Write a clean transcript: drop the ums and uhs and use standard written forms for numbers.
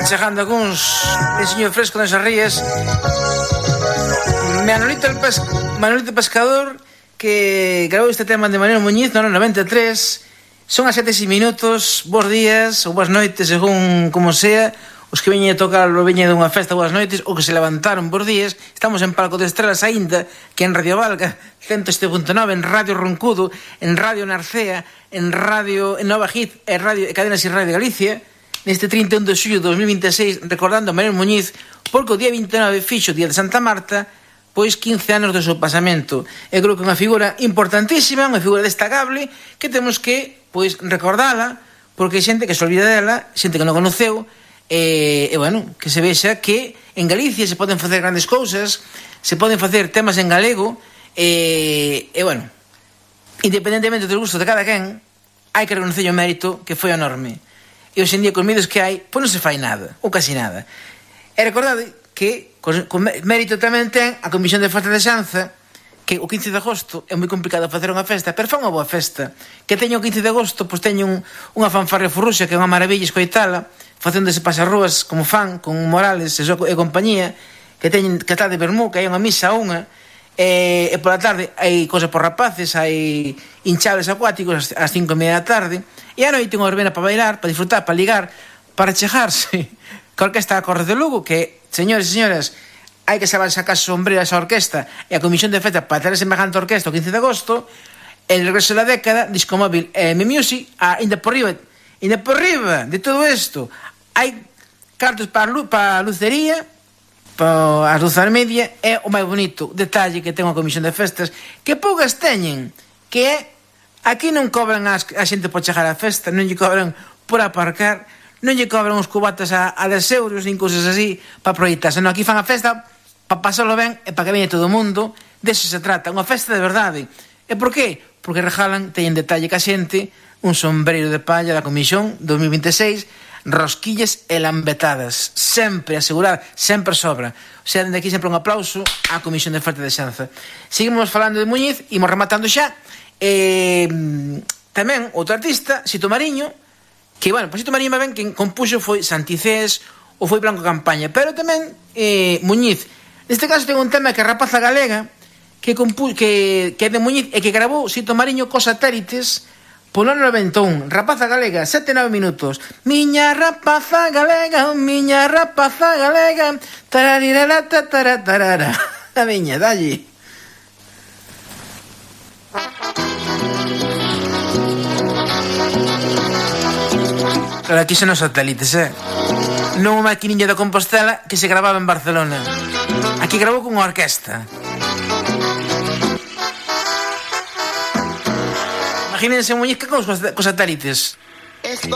Chegando algúns enseño fresco nas rías. Manolito Pescador, que grabou este tema de Manuel Muñiz no ano 93. Son as 7:00. Bos días ou boas noites, según como sea. Os que veñen a tocar o veñen dunha festa, boas noites. Ou que se levantaron, bos días. Estamos en Palco de Estrelas aínda, que en Radio Valga 107.9, en Radio Roncudo, en Radio Narcea, en Radio en Nova Hit, en Radio Cadenas e Radio Galicia. Neste 31 de xullo de 2026, recordando a Manuel Muñiz, porque o día 29 fixo o día de Santa Marta, pois 15 anos do seu pasamento. Eu creo que é unha figura importantísima, unha figura destacable, que temos que, pois, recordala, porque hai xente que se olvida dela, xente que non conoceu, e bueno, que se vexa que en Galicia se poden facer grandes cousas, se poden facer temas en galego, e bueno, independentemente do gusto de cada quen, hai que reconocer o mérito que foi enorme. E hoxe en día, con medios que hai, pois non se fai nada, ou casi nada. E recordade que con mérito tamén ten a Comisión de Festa de Xanza, que o 15 de agosto é moi complicado facer unha festa, pero fa unha boa festa. Que teño o 15 de agosto, pois teño unha fanfarria furruxa, que é unha maravilla escoitala, facendo ese pasarrúas como fan, con Morales e compañía, que está de vermú, que hai unha misa unha, e pola tarde hai cosas por rapaces, hai hinchables acuáticos ás 5:30 da tarde, e a noite unha verbena para bailar, para disfrutar, para ligar, para chejarse ca orquesta da Corre de Lugo, que, señores e señoras, hai que saber sacar sombrero a esa orquesta e a Comisión de Festa para ter semejante orquesta o 15 de agosto. El regreso da década, Disco Móvil e Mi Music, ainda por riba de todo isto hai cartos para a lucería, para as luzas media, é o máis bonito detalle que ten a Comisión de Festas, que poucas teñen, que é aquí non cobran a xente por chegar á festa, non lle cobran por aparcar, non lle cobran os cubatas a 10 euros, nin cousas así para proyectar, senón aquí fan a festa para pasarlo ben e para que veña todo o mundo. Deso se trata, unha festa de verdade. E por qué? Porque regalan, teñen detalle ca xente, un sombreiro de palla da Comisión 2026, rosquillas e lambetadas, sempre asegurar, sempre sobra. O sea, dende aquí sempre un aplauso á Comisión de Festa de Xanza. Seguimos falando de Muñiz, imos rematando xa. Tamén outro artista, Sito Mariño, que, bueno, pues Sito Mariño ben quen compuxo foi Santicés ou foi Blanco Campaña, pero tamén Muñiz. Neste caso ten un tema que é Rapaza Galega, que é de Muñiz e que grabou Sito Mariño cos satélites polo ano 91. Rapaza Galega, 7-9 minutos. Miña rapaza galega, tararirarata, taratarara. A miña, dalle. Claro, aquí son os satélites, non unha maquiniña de Compostela que se grababa en Barcelona. Aquí grabou con unha orquesta. Imagínense Muñiz que con os satélites.